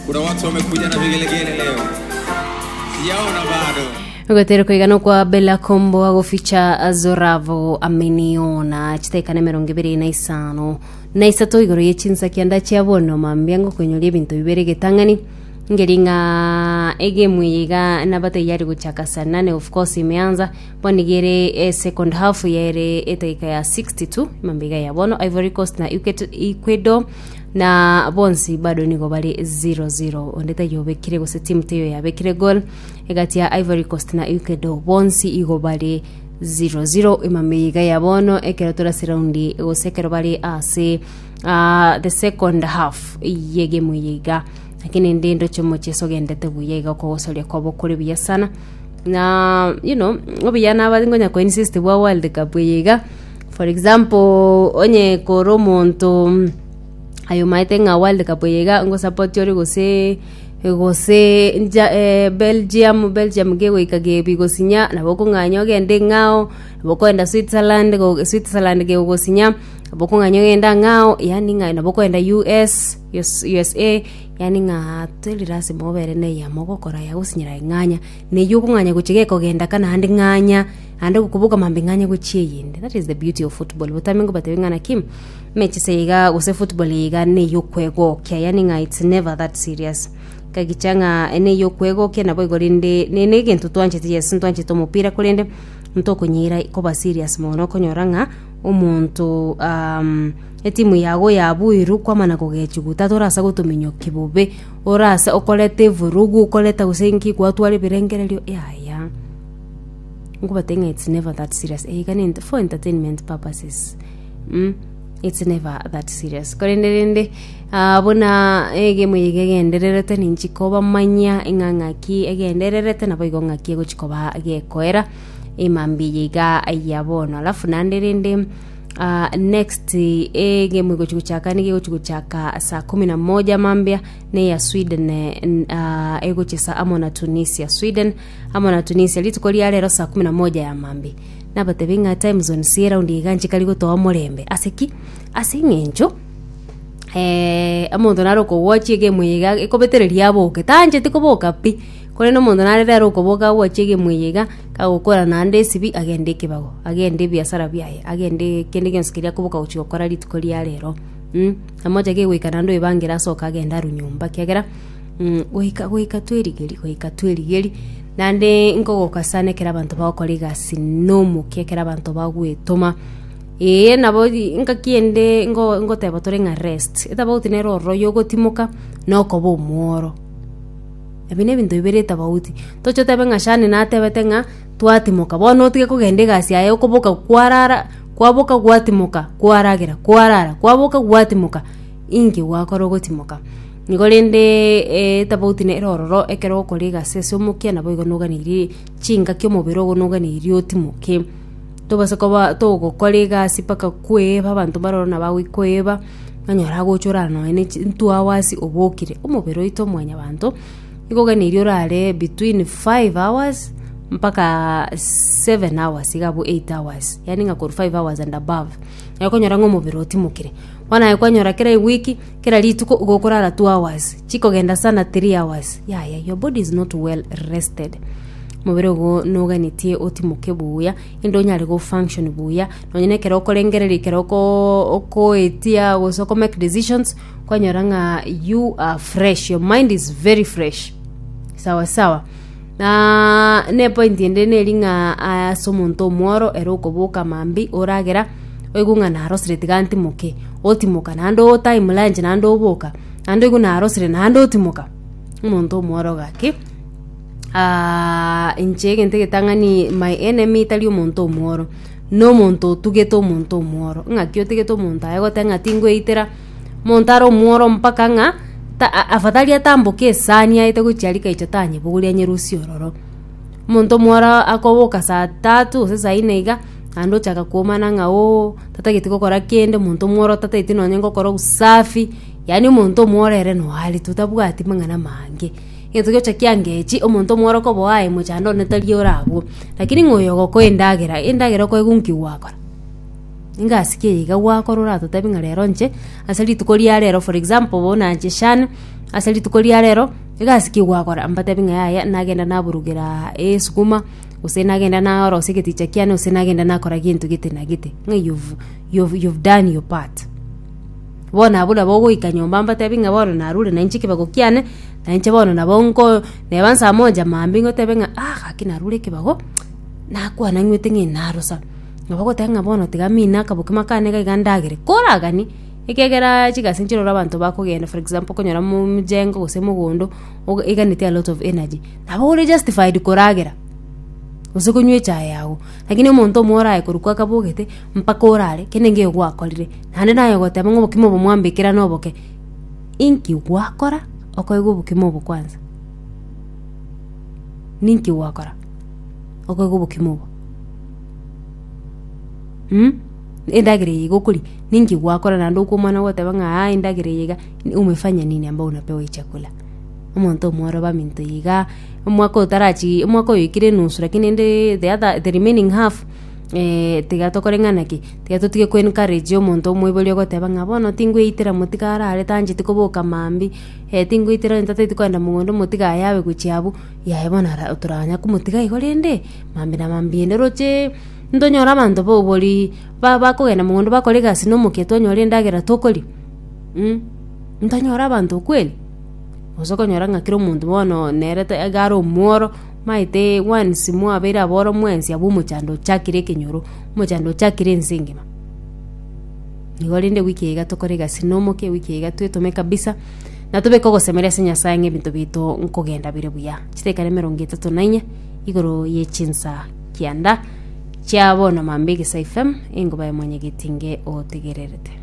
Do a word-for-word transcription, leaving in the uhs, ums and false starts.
Kuna watu wamekuja na vigelegele leo, sijaona bado. Ogotera koigana kwa Bella Kombo agoficha Zoravo ameniona chitaika na emerongo ebere na isano na isato igoro ye chinsa kianda chia bono mambia ngokonyoria ebinto bibere getang'ani ngeri ng'a egemu eye iga nabateyari gochaka saa nane of course imeanza bono iga ere eh, second half yaere edaika ya sixty two mambia iga ya bono Ivory Coast na Equato- Ecuador na bonsi bado nigo bare zero zero onde taiyo obekire gose timu teiyo yabekire goal egati ya Ivory Coast na Ecuador bonsi igo bare zero zero emambia iga ya bono ekero torase raundi gose ekero bare ase ah, the second half yegemu eye iga lakini ndi ndoche omocheso ogendete buya iga okogosoria kwabo kore buya sana na you know obuya naba ngonya ko insist bwa world cup eye iga for example onye kore omonto aye omaete ng'a world cup eye iga ngosupport ore gose gose nja eh, Belgium Belgium gegoika gebigosinya nabo okong'anya ogende ng'ao nabo okoenda Switzerland go Switzerland gegogosinya nabo okong'anya ogende ang'ao yaani ng'a nabo okoenda U S US U S A yaani ng'a teri lasima obere na eyemo ogokora yagosinyera aye ng'anya na eywo okong'anya gochia gekogenda ka naende ng'anya naende gokoboka mambia ng'anya gochia eyende that is the beauty of football botambe ngobatebie ng'a naki emechieso eye iga gose football eye iga na eyokwegokia yaani ng'a it's never that serious kagicha ng'a ene eyokwegokia nabo igo rende ne na egento twanchete yes ntwanchete omopira korende ntokonyeira koba serious mono okonyora ng'a omonto um, etimu yago yabuirwe kwamana kogechigwa tatorasa gotominyokia bobe orase okoreta evurugu okoreta gose nki gwatwara ebirengererio yaya nkobatebia ng'a it's never that serious eyeiga ne for entertainment purposes mm? It's never that serious korende rende ah, buna egemu eye iga egendererete ninchi kobamanyia ng'a ng'aki egendererete nabo igo ng'aki egochi koba gekoera emambia eye iga ya bono alafu naende rende ah, next egemu egochi gochaka nigo egochi gochaka saa kumi na moja mambia neya Sweden eh, ah, egochesa amo na Tunisia Sweden amo na Tunisia rituko ria rero saa kumi na moja ya mambia nabatebie ng'a time zone si eraundi iga nchikari gotoa omorembe ase ki ase eng'encho eh, omonto nare okowatch egemu eye iga ekobetereria aboke taancheti koboka pi korende omonto nare rero okoboka awatche egemu eye iga kagokora naende esibi agende ekebago agende ebiasara biaye agende kende gionsi keria akoboka gochia gokora rituko ria rero mm, namocha kegoika naende oebangere asoke agende arwe nyomba kiagera mm, goika goika twerigerie goika twerigerie naende nkogoka sana ekero abanto bagokora egasi na omokia ekero abanto bagwetoma ee nabo ngaki ende ngo ngoteba tore ng'a rest etabauti nere ororo yogotimoka na okoba omworo ebi na ebinto bibere etabauti toche otebe ng'a Shani natebete ng'a twatimoka bono otige kogenda egasi yaye okoboka kwarara kwaboka gwatimoka kwaragera kwarara kwaboka gwatimoka inki gwakora ogotimoka nigo rende etabauti nere ororo ekero ogokora egasi ase omokia nabo igo noganeirie chingaki omobere ogo noganeirie otimoke tobasa koba togokora egasi mpaka kweba abanto baroro nabo agokoeba onyora agocha orara nonye na chi two hours obokire omobere oito mwanyabanto nigo oganeirie orare between five hours mpaka seven hours iga abwo eight hours yaani ng'a korwa five hours and above nabo okonyora ng'a omobere otimokire bono aye kwanyora kera ewiki kera rituko igo okorara two hours chikogenda sana three hours yaya your body is not well rested omobere ogo noganetie otimoke buya ende onyare go function buya nonye na ekero okorengereria ekero okoo okoetia gose oko make decisions kwanyora ng'a you are fresh your mind is very fresh sawa sawa na na epoint ende neri ng'a ase omonto omworo ere okoboka mambia oragera oigwe ng'a narosire tiga ntimoke otimoka naende o time lunch naende oboka naende oigwe narosire naende otimoka omonto omworo gaki inche egento egetang'ani my enemy tari omonto omworo na omonto otugete omonto omworo ng'aki otugete omonto aye goteba ng'a tingoitera omonto are omworo mpaka ng'a ta afadhali atamboke esani aete gochia aria kaicha tanyebogoria anyerusie ororo. Omonto omworo akoboka saa tatu gose saa nne iga naende ochaka koomana ng'a ooh tatageti gokora kende omonto omworo tatageti nonye gokora obusafi yaani omonto omworo ere noare tu tabwati mang'ana mange. Egento gegocha kiangechi omonto omworo okoboa aye mochando one tari ore abwo, lakini ng'a oyo ogokoa endagera, endagera okoegwa nki gwakora? Engasi ki eye iga gwakora oratotebi ng'a rero inche, ase rituko ria rero for example bono inche Shani, ase rituko ria rero, egasi ki gwakora mbatebi ng'a yaya nagenda naburugeraa esukuma, gose nagenda narosia egeticha kiane gose nagenda nakora gento gete na gete, ng'a you've you've you've done your part. Bono abwo nabo ogoika nyomba mbatebi ng'a bono narure na inche ekebago kiane, na inche bono nabo nko neba nsaa moja mambia ngotebe ng'a ah gaki narure ekebago, nakwana ng'wete ng'a narosa. Nabo ogoteba ng'a bono tiga mine akabokima kane iga iga ndagere, koragani, ekiagera chigasi nchiroro abanto bakogenda for example okonyora mo mjengo gose mogondo, oga eganeti a lot of energy, nabo ore justified koragera, gose konywa echae yago, lakini omonto omo oraye korwa kwakabogete, mpaka orare, kende nkeiyo gwakorire, naende naye ogoteba ng'a obokima obo mwambekera na oboke, inki gwakora okoegwa obokima obo kwanza? Ninki gwakora okoegwa obokima obo? Mh, endagera eye iga okoria, ninki gwakora naende okomana goteba ng'a aa endagera eye iga, umefanya nini ambao unapewa hii chakula? Omonto omworo baminto igaa, omwaka otarachi omwaka oyo oikire enusu lakini rende the other the remaining half tiga tokore ng'ana ki, tiga totige ko encourage omonto omoibori ogoteba ng'a bono tingoitera motiga arare tancheti koboka mambia, tingoitera onye tatagete kogenda mogondo motiga ayabe gochia abwo, yaya bono ara toranya komotiga igo rende, mambia na mambia ende rocheee, ntonyore abanto ba obori ba bakogenda mogondo bakore egasi na omokia twanyora endagera tokoria mh, ntonyore abanto kweli? Gose okonyora ng'a kera omonto bono nere ta iga are omworo, omanyete once mwabeire aboro mwensi abwo omochando ochakire ekenyoro, omochando ochakire ense engima. Igo rende ewiki eye iga tokore egasi na omokia ewiki eye iga twetome kabisa, na tobeke ogosemeria ase Nyasaye ng'a ebinto biaito nkogenda bire buya. Chidaeka na emerongo etato na inye, igoro ye chinsa kianda, chia bono mambia Egesa F M, engoba ya mwanyagetinge otegererete.